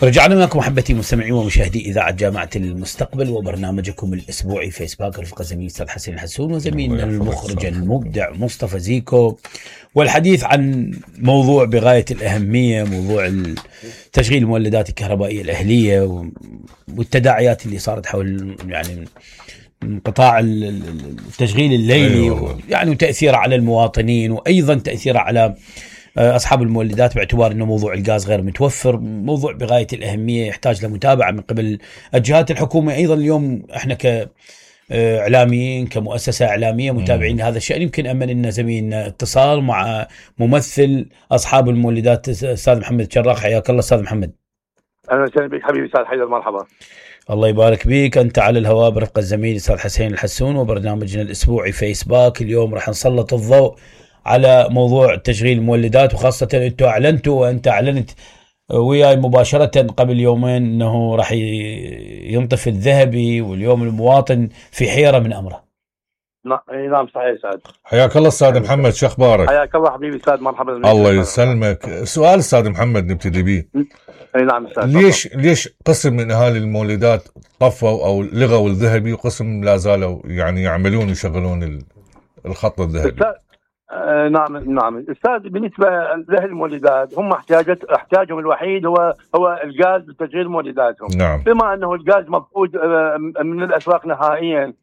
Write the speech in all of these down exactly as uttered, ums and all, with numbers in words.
رجعنا معكم محبتي مستمعين ومشاهدي إذاعة جامعة المستقبل وبرنامجكم الأسبوعي فيسباك. رفقة زميلي أستاذ حسين الحسون وزميلنا المخرج المبدع مصطفى زيكو، والحديث عن موضوع بغاية الأهمية، موضوع تشغيل المولدات الكهربائية الأهلية والتداعيات اللي صارت حول يعني انقطاع التشغيل الليلي، يعني وتأثيره على المواطنين وأيضا تأثيره على أصحاب المولدات، باعتبار أنه موضوع الغاز غير متوفر، موضوع بغاية الأهمية يحتاج لمتابعة من قبل الجهات الحكومية. أيضا اليوم إحنا كإعلاميين كمؤسسة إعلامية متابعين هذا الشأن. يمكن أمن لنا زميلنا اتصال مع ممثل أصحاب المولدات أستاذ محمد شراق. حياك الله أستاذ محمد. أهلا وسهلا بك حبيبي أستاذ حيدر، مرحبا. الله يبارك بيك. أنت على الهواء برفقة الزميل أستاذ حسين الحسون وبرنامجنا الأسبوعي فيسباك. اليوم راح نسلط الضوء على موضوع تشغيل المولدات، وخاصة أنتوا أعلنتوا وأنت أعلنت وياي مباشرة قبل يومين أنه راح ينطفي الذهبي، واليوم المواطن في حيرة من أمره. نعم صحيح سعد. حياك الله أستاذ محمد، شو أخبارك؟ حياك الله حبيبي أستاذ، مرحبا. الله يسلمك. سؤال أستاذ محمد نبتدي به. اي نعم أستاذ. ليش طبعا. ليش قسم من أهالي المولدات طفوا أو لغوا الذهبي وقسم لا زالوا يعني يعملون ويشغلون الخط الذهبي؟ آه نعم نعم استاذ، بالنسبه لاهل المولدات هم احتياجات احتياجهم الوحيد هو هو الغاز لتشغيل مولداتهم. نعم. بما انه الغاز مفقود آه من الاسواق نهائيا،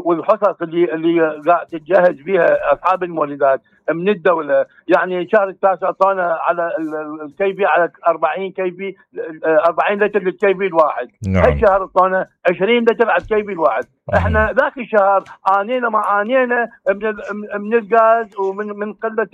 والحصص اللي اللي قاعد تتجهز بها اصحاب المولدات من الدوله، يعني شهر التاسع اعطانا على الكي بي على أربعين كي بي أربعين لتر للكي بي الواحد. نعم. هاي الشهر اعطانا عشرين لتر على الكي بي الواحد. أه. احنا ذاك الشهر عانينا ما عانينا من من الغاز ومن من قله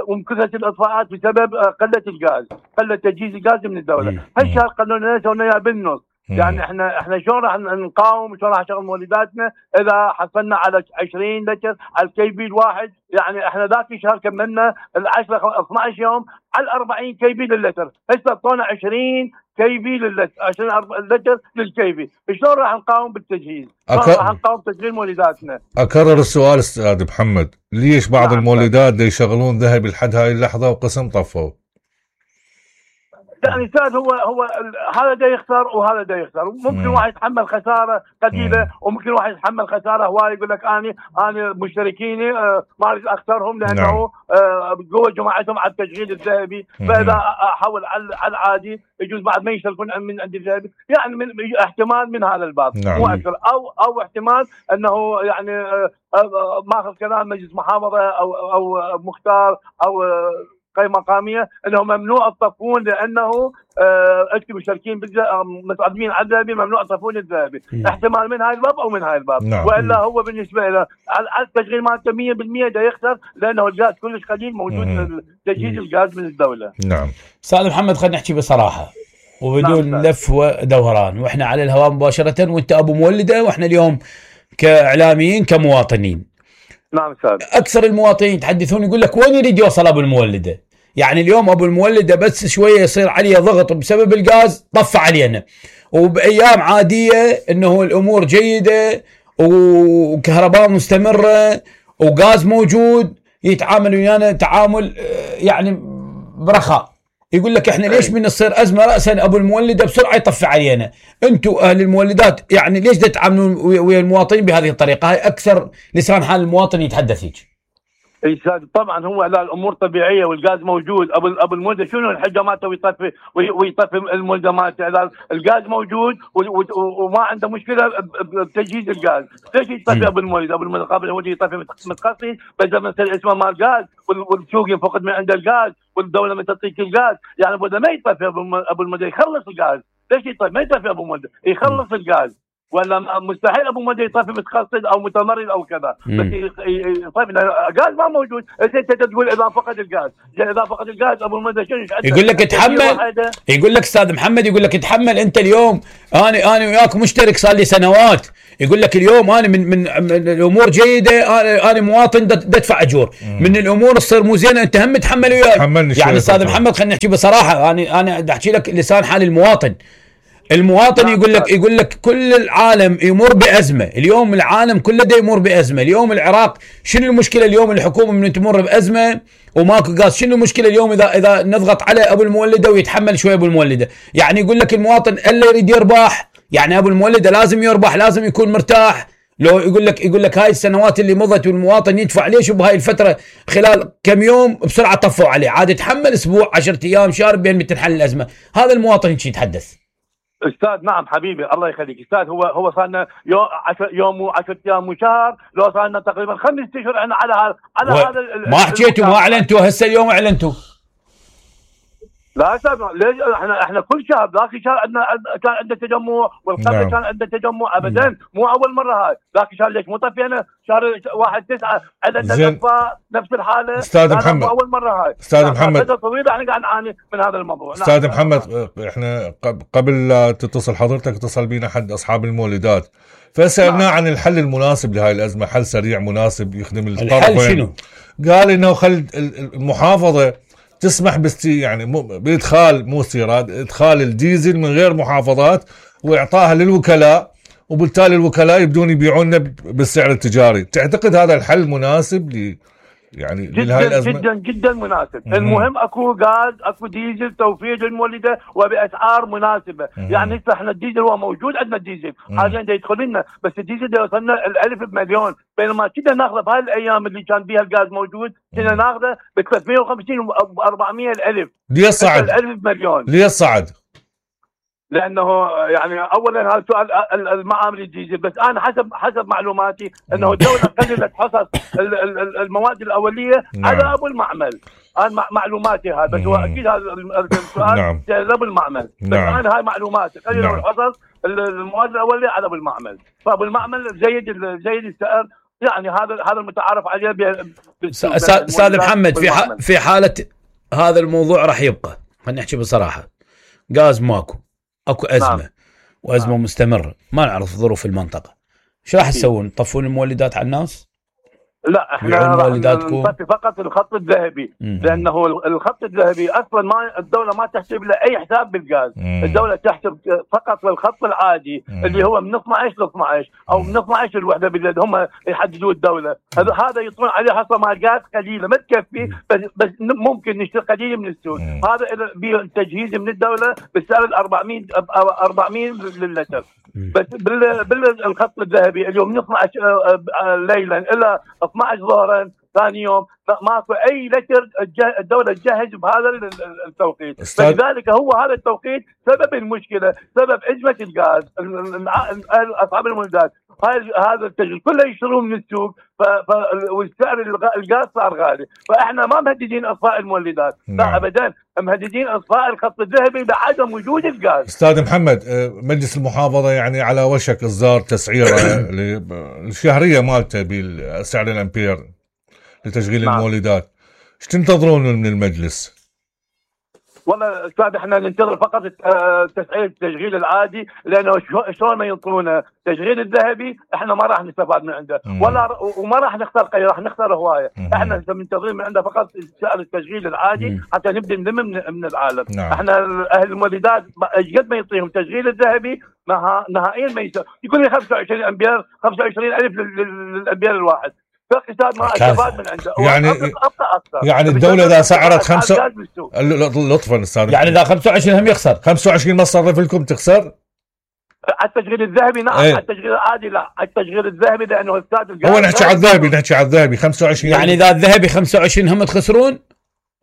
ومن كثره الاطفاءات بسبب قله الغاز، قله تجهيز الغاز من الدوله. هالشهر قالوا لنا سوينا بالنص. يعني احنا احنا شلون راح نقاوم، شلون راح نشغل مولداتنا اذا حصلنا على عشرين لتر على الكي بي الواحد؟ يعني احنا ذاك الشهر كملنا ال عشرة اثنا عشر يوم على أربعين كي بي للتر، هسه اعطونا عشرين كي بي للتر، عشرين لتر للكي بي. شلون راح نقاوم بالتجهيز؟ أك... راح نقاوم تشغيل مولداتنا. اكرر السؤال استاذ محمد، ليش بعض نعم. المولدات دي يشغلون ذهبي لحد هاي اللحظه وقسم طفوا؟ يعني استاذ هو هو هذا دا يخسر وهذا دا يخسر. ممكن واحد يتحمل خساره قليله وممكن واحد يتحمل خساره هواي، يقول لك اني انا مشتركيني آه ما اريد اخسرهم لانه آه قوه جماعتهم على التشغيل الذهبي، فاذا احول على العادي يجوز بعد ما يشتركون من عند الذهبي. يعني من احتمال من هذا الباب مو اكثر، او او احتمال انه يعني آه آه ماخذ كلام مجلس محافظه او او مختار او آه قيمة مقامية انه ممنوع الطفون، لانه انتم مشتركين متقدمين على الذهبي ممنوع الطفون الذهبي. احتمال من هاي الباب او من هاي الباب. نعم. والا هو بالنسبه له على التشغيل مالته مية بالمية ده يخسر، لانه الغاز كلش قليل موجود تجهيز الغاز من الدوله. نعم. استاذ محمد خلينا نحكي بصراحه وبدون نعم. لف ودوران، واحنا على الهواء مباشره وانت ابو مولده، واحنا اليوم كاعلاميين كمواطنين. نعم استاذ. اكثر المواطنين يتحدثون يقول لك وين يريد يوصل ابو المولده؟ يعني اليوم ابو المولده بس شويه يصير عليه ضغط بسبب الغاز طفى علينا، وبايام عاديه انه الامور جيده وكهرباء مستمره وغاز موجود يتعامل ويانا تعامل يعني برخاء. يقول لك احنا ليش من تصير ازمه راسا ابو المولده بسرعه يطفي علينا؟ انتم اهل المولدات يعني ليش تتعاملون ويا المواطنين بهذه الطريقه؟ هاي اكثر لسان حال المواطن يتحدث هيك. اي استاذ طبعا هو لا الامور طبيعيه والغاز موجود. ابو ابو المولده شنو الحجه مالته ويطفي ويطفي المولده مالته؟ اذا الغاز موجود وما عنده مشكله بتجهيز الغاز، ليش يطفي ابو المولده؟ ابو المولده قبل هو يطفي متخصص بس مثلا اسمه مال غاز والسوق ينفقد من عند الغاز والدوله ما تعطيك الغاز. يعني ابو ما يطفي ابو المولده يخلص الغاز. ليش يطفي؟ ما يطفي ابو المولده يخلص الغاز، ولا مستحيل ابو مدى يطفي متخصص او متمرد او كذا، بس يطفي الغاز ما موجود. انت تقول اذا فقد الغاز، اذا فقد الغاز ابو مدى شنو يقول لك اتحمل؟ يقول لك استاذ محمد يقول لك اتحمل انت اليوم. انا انا وياك مشترك صار لي سنوات، يقول لك اليوم انا من من, من الامور جيده، انا انا مواطن بدفع اجور، من الامور تصير مو زينه انت هم تحمل وياي. يعني استاذ محمد خلينا نحكي بصراحه، انا انا بدي احكي لك لسان حال المواطن. المواطن يقول لك يقول لك كل العالم يمر بازمه، اليوم العالم كله دا يمر بازمه، اليوم العراق شنو المشكله اليوم الحكومه من تمر بازمه وماكو غاز، شنو المشكله اليوم اذا اذا نضغط على ابو المولده ويتحمل شويه ابو المولده؟ يعني يقول لك المواطن الا يريد يربح، يعني ابو المولده لازم يربح، لازم يكون مرتاح. لو يقول لك يقول لك هاي السنوات اللي مضت والمواطن يدفع ليش وبهاي الفتره خلال كم يوم بسرعه طفوا عليه، عاد يتحمل اسبوع عشرة ايام شهر بين تنحل الازمه، هذا المواطن هيك يتحدث. استاذ نعم حبيبي الله يخليك استاذ، هو هو صار لنا يوم يوم وعشرة ايام وشهر، لو صار لنا تقريبا خمس اشهر احنا على هذا على و... هذا ما حكيتوا ما اعلنتوا، هسه اليوم اعلنتوا. لا استاذ ليش احنا احنا كل شهر ذاك الشهر عندنا كان عندنا تجمع والقبل نعم. كان عندنا تجمع ابدا مم. مو اول مره هاي، ذاك الشهر ليش مو طفينا شهر واحد تسعة عندنا نفس نفس الحاله. استاذ محمد مو اول مره هاي استاذ محمد فتره طويله احنا قاعد نعاني من هذا الموضوع. استاذ نعم. محمد احنا قبل لا تتصل حضرتك اتصل بينا حد اصحاب المولدات فسالناه نعم. عن الحل المناسب لهاي الازمه، حل سريع مناسب يخدم الطرفين. الحل شنو؟ قال انه خل المحافظه تسمح باستي يعني بادخال مو استيراد ادخال الديزل من غير محافظات واعطائها للوكلاء، وبالتالي الوكلاء يبدون يبيعون بالسعر التجاري. تعتقد هذا الحل مناسب ل يعني جدا الازمه؟ جدا جدا مناسب. مم. المهم اكو غاز اكو ديزل توفير للمولده وباسعار مناسبه. مم. يعني احنا الديزل هو موجود عندنا الديزل حاليا دا يدخل لنا، بس الديزل دا يوصلنا الالف بمليون، بينما كنا ناخذه بهاي الايام اللي كان بيها الغاز موجود كنا ناخذه ب ثلاثمية وخمسين و أربعمية الالف. ليه صعد؟ الالف بمليون. ليه صعد؟ لانه يعني اولا هذا سؤال المعامل الديزل، بس انا حسب حسب معلوماتي انه الدوله قللت حصص المواد الاوليه نعم. على ابو المعمل. انا معلوماتي هذا، بس هو اكيد هذا السؤال نعم. ابو المعمل، بس نعم. انا هاي معلوماتي قللوا نعم. الحصص المواد الاوليه على ابو المعمل، فابو المعمل زيد زيد السعر، يعني هذا هذا المتعارف عليه. استاذ محمد في في حاله هذا الموضوع راح يبقى، خلينا نحكي بصراحه، غاز ماكو، اكو ازمه نعم. وازمه نعم. مستمره، ما نعرف ظروف المنطقه، شو راح تسوون؟ تطفون المولدات على الناس؟ لا احنا نطفي فقط الخط الذهبي، مم. لانه الخط الذهبي اصلا ما الدوله ما تحسب له اي حساب بالغاز، مم. الدوله تحسب فقط للخط العادي مم. اللي هو من اثني عشر ل اثني عشر او من اثني عشر الوحده بالليل هم يحددوا الدوله، هذا هذا يطلعون عليه حصه مال غاز قليله ما تكفي، بس بس ممكن نشتري قليل من السوق، مم. هذا تجهيز من الدوله بالسعر أربعمية أربعمية للتر، بس بال بالخط الذهبي اليوم من اثني عشر ليلا الى اثني عشر ظهرا ثاني يوم ماكو اي لتر الدوله تجهز بهذا التوقيت، فلذلك هو هذا التوقيت سبب المشكله، سبب ازمه الغاز. اصحاب المولدات هذا التجهيز كله يشترون من السوق، والسعر الغاز صار غالي، فاحنا ما مهددين اطفاء المولدات لا ابدا، مهددين اطفاء الخط الذهبي بعدم وجود الغاز. استاذ محمد مجلس المحافظه يعني على وشك اصدار تسعيره الشهريه مالته بسعر الامبير لتشغيل نعم. المولدات، ايش تنتظرون من المجلس؟ والله استاذ احنا ننتظر فقط تسعير التشغيل العادي، لانه شلون ما ينطونا التشغيل الذهبي احنا ما راح نستفاد من عنده مم. ولا وما راح نختار قي راح نختار هوايه، احنا منتظرين من عنده فقط سعر التشغيل العادي مم. حتى نبدا نلم من, من العالم. نعم. احنا اهل المولدات قد ما يعطيهم التشغيل الذهبي نهائيا ما يسوي، يقول لي خمسة وعشرين امبير خمسة وعشرين الف للامبير الواحد، ما استفاد من عنده يعني أبقى يعني الدوله اذا سعرت خمسة لطفا استاذ يعني اذا خمسة وعشرين هم يخسر خمسة وعشرين ما تصرف لكم تخسر على التشغيل الذهبي نعم ايه؟ على التشغيل العادي لا، على التشغيل الذهبي لانه استاذ هو نحكي على الذهبي نحكي على الذهبي خمسة وعشرين يعني اذا الذهبي خمسة وعشرين هم تخسرون،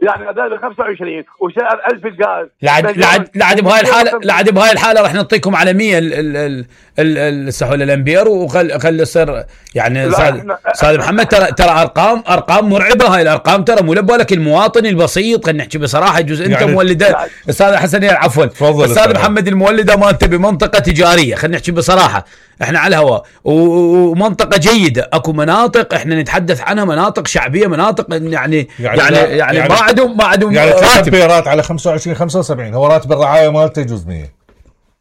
يعني الذهبي خمسة وعشرين وسعر ألف الغاز لعد لعد لعد بهاي الحاله لعد بهاي الحاله راح نعطيكم على مية السحول الامبير، وخل خلي يصير يعني استاذ محمد ترى ترى ارقام ارقام مرعبه، هاي الارقام ترى مو لبالك المواطن البسيط، خلينا نحكي بصراحه جزء انت يعني مولده استاذ حسن عفوا استاذ محمد المولده مالته بمنطقه تجاريه، خلينا نحكي بصراحه احنا على الهواء ومنطقه جيده، اكو مناطق احنا نتحدث عنها مناطق شعبيه، مناطق يعني يعني يعني, يعني, يعني ما عندهم ما عندهم يعني راتب على خمسة وعشرين خمسة وسبعين، هو راتب الرعايه مالته يجوز مية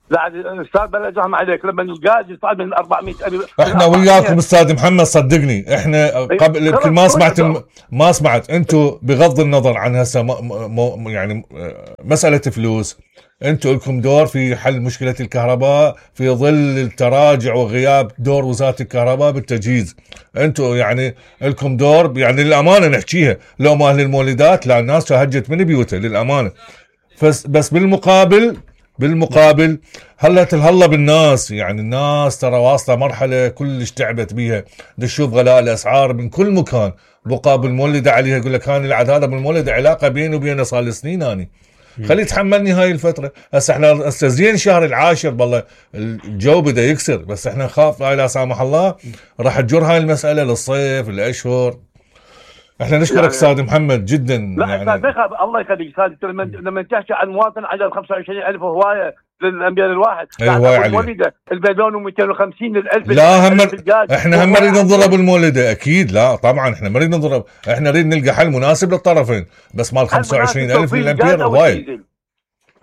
لا الاستاذ بلا زحمه عليك لما الغاز يصعد من أربعمية ألف. احنا وياكم استاذ محمد صدقني احنا قبل يمكن ما سمعت الم... ما سمعت انتم بغض النظر عن هسه م... م... يعني مساله فلوس، انتم لكم دور في حل مشكله الكهرباء في ظل التراجع وغياب دور وزاره الكهرباء بالتجهيز. انتم يعني لكم دور، يعني للامانه نحكيها، لو ما اهل المولدات لا الناس هجت من بيوتها للامانه. بس بس بالمقابل بالمقابل هلا هلا بالناس، يعني الناس ترى واصله مرحله كلش تعبت بيها، نشوف غلاء الاسعار من كل مكان، بقى بالمولده عليها يقول لك هاني العاد هذا بالمولده علاقه بيني وبينه صار لي سنين اني خلي يتحملني هاي الفتره. هسه احنا هسه زين شهر العاشر بالله الجو بدا يكسر، بس احنا نخاف لا سامح الله راح تجر هاي المساله للصيف الاشهر. احنا نشكرك يعني استاذ محمد جدا. لا يعني الله يخليك استاذ، لما تحكي عن مواطن عدد خمسة وعشرين ألف هوايه للانبياء الواحد، اي هوايه عليه المليون ومئتين وخمسين الف. لا هم احنا هم نريد نضرب المولده اكيد، لا طبعا احنا ما نريد نضرب، احنا نريد نلقى حل مناسب للطرفين، بس مال خمسة وعشرين ألف للامبير هوايه.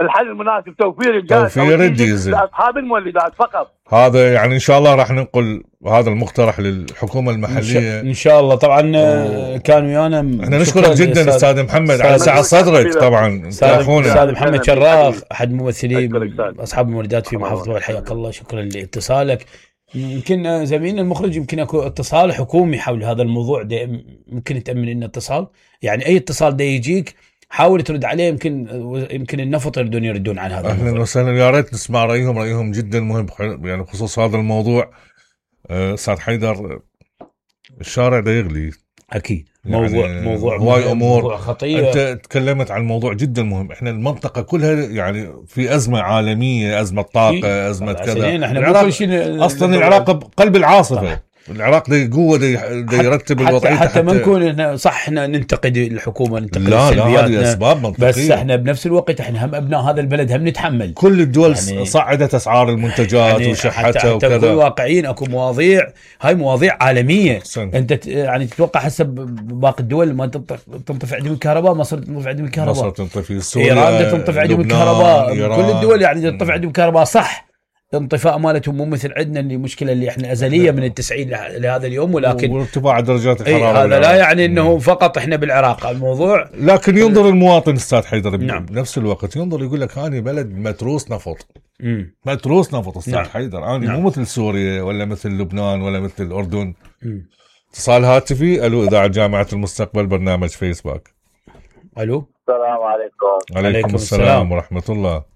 الحل المناسب توفير الجاز، توفير الديزل لاصحاب المولدات فقط. هذا يعني ان شاء الله راح ننقل هذا المقترح للحكومه المحليه ان شاء الله. طبعا و... كان ويانا. احنا نشكرك جدا استاذ محمد على سعه صدرك. طبعا استاذ محمد شراخ احد ممثلي اصحاب المولدات في محافظه وادي، حياك الله، شكرا لاتصالك. يمكن زميلنا المخرج يمكن اكو اتصال حكومي حول هذا الموضوع، يمكن تامن لنا اتصال، يعني اي اتصال ده يجيك حاول ترد عليه، يمكن يمكن النفط يردون يردون عن هذا. اهلا وسهلا، يا ريت نسمع رايهم، رايهم جدا مهم يعني بخصوص هذا الموضوع. استاذ حيدر الشارع ده يغلي اكيد، موضوع يعني موضوع هواي امور، موضوع خطير. انت تكلمت عن موضوع جدا مهم، احنا المنطقه كلها يعني في ازمه عالميه، ازمه طاقه، ازمه كذا. احنا العراق اصلا العراق بقلب العاصفه، العراق ده قوه ده يرتب الوضعيه حتى, حتى ما نكون صح احنا ننتقد الحكومه، ننتقد لا لا هذه اسباب منطقيه، بس احنا بنفس الوقت احنا هم ابناء هذا البلد، هم نتحمل. كل الدول يعني صعدت اسعار المنتجات يعني وشحتها وكذا. حتى واقعيين اكو مواضيع، هاي مواضيع عالميه سن. انت يعني تتوقع هسه باقي الدول ما تنطفئ عندهم الكهرباء، مصر تنطفئ عندهم الكهرباء، مصر تنطفئ، سوريا، ايران تنطفئ عندهم الكهرباء، كل الدول يعني تنطفئ عندهم الكهرباء صح. الانطفاء مالتهم مو مثل عندنا، اللي مشكله اللي احنا ازليه من التسعين لهذا اليوم، ولكن وارتفاع درجات الحراره هذا لا يعني انه فقط احنا بالعراق الموضوع. لكن ينظر المواطن استاذ حيدر نعم. بنفس الوقت ينظر يقول لك هاني بلد متروس نفط، مم. متروس نفط استاذ نعم. حيدر هاني نعم. مو مثل سوريا ولا مثل لبنان ولا مثل الاردن. اتصال هاتفي. الو اذاعه جامعه المستقبل، برنامج فيسبوك. الو السلام عليكم. عليكم السلام ورحمه الله.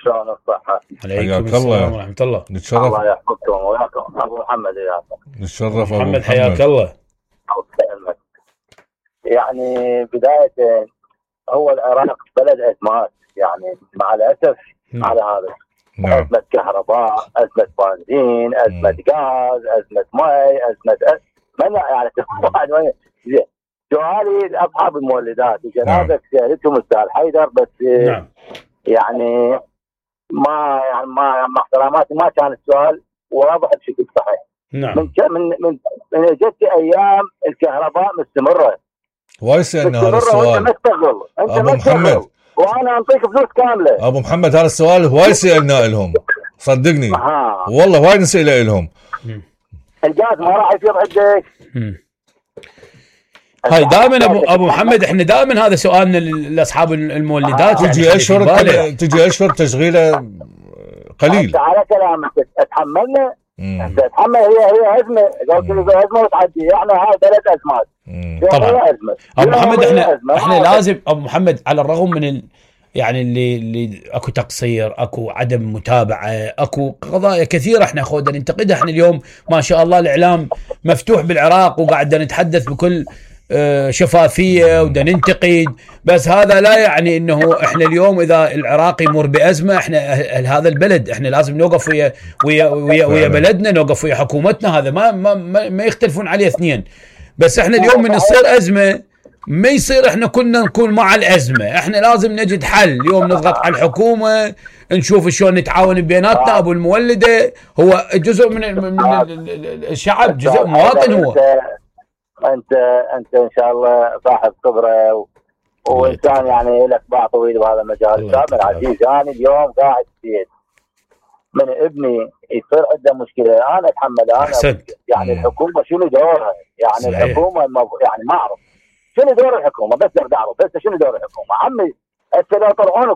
شلون الصحة؟ عليكم السلام ورحمة الله. نتشرف. الله يحفظكم وياكم. أبو محمد وياكم. نتشرف أبو محمد، حياك الله. يعني بداية هو العراق بلد أزمات، يعني مع الأسف م. على هذا. نعم. أزمة كهرباء، أزمة بنزين، أزمة غاز، أزمة ماء، أزمة أز... من يعني زين. سؤالي لأصحاب المولدات وجنابك سألتهم أستاذ حيدر، بس نعم. يعني ما يعني ما مع احتراماتي ما كان السؤال واضح بشكل صحيح. نعم. من من من من جت ايام الكهرباء مستمره. وايد سالنا هذا السؤال. انت مستغل، انت ابو محمد، وانا انطيك فلوس كامله. ابو محمد هذا السؤال هواي سالنا لهم، صدقني آه. والله وايد نسال لهم. الجاز ما راح يصير عندك. هاي دائما ابو ابو محمد، احنا دائما هذا سؤالنا لاصحاب المولدات. آه. تجي يعني اشهر تجي اشهر تشغيله قليل. على كلامك اتحملنا، انت تتحمل، هي هي ازمه، قلت له ازمه وتعدي، يعني هاي ثلاث ازمات. طبعا ابو محمد احنا احنا لازم ابو محمد على الرغم من ال يعني اللي اللي اكو تقصير، اكو عدم متابعه، اكو قضايا كثيره احنا خودنا ننتقدها. احنا اليوم ما شاء الله الاعلام مفتوح بالعراق وقاعد نتحدث بكل شفافيه ودا ننتقد، بس هذا لا يعني انه احنا اليوم اذا العراق يمر بازمه احنا هذا البلد احنا لازم نوقف ويا ويا ويا, ويا بلدنا، نوقف ويا حكومتنا، هذا ما ما ما يختلفون عليه اثنين. بس احنا اليوم من تصير ازمه ما يصير احنا كنا نكون مع الازمه، احنا لازم نجد حل. اليوم نضغط على الحكومه، نشوف شلون نتعاون بيناتنا. ابو المولده هو جزء من من الشعب، جزء مواطن هو. انت انت ان شاء الله صاحب خبره و... وانسان يعني لك باع طويل بهذا المجال. سامر عزيز، انا اليوم قاعد في من ابني يصير عنده مشكله انا اتحمل انا أحسنت. يعني مم. الحكومه شنو دورها؟ يعني صحيح. الحكومه يعني ما اعرف شنو دور الحكومه، بس بدي اعرف بس شنو دور الحكومه. عمي هسه لو طلعون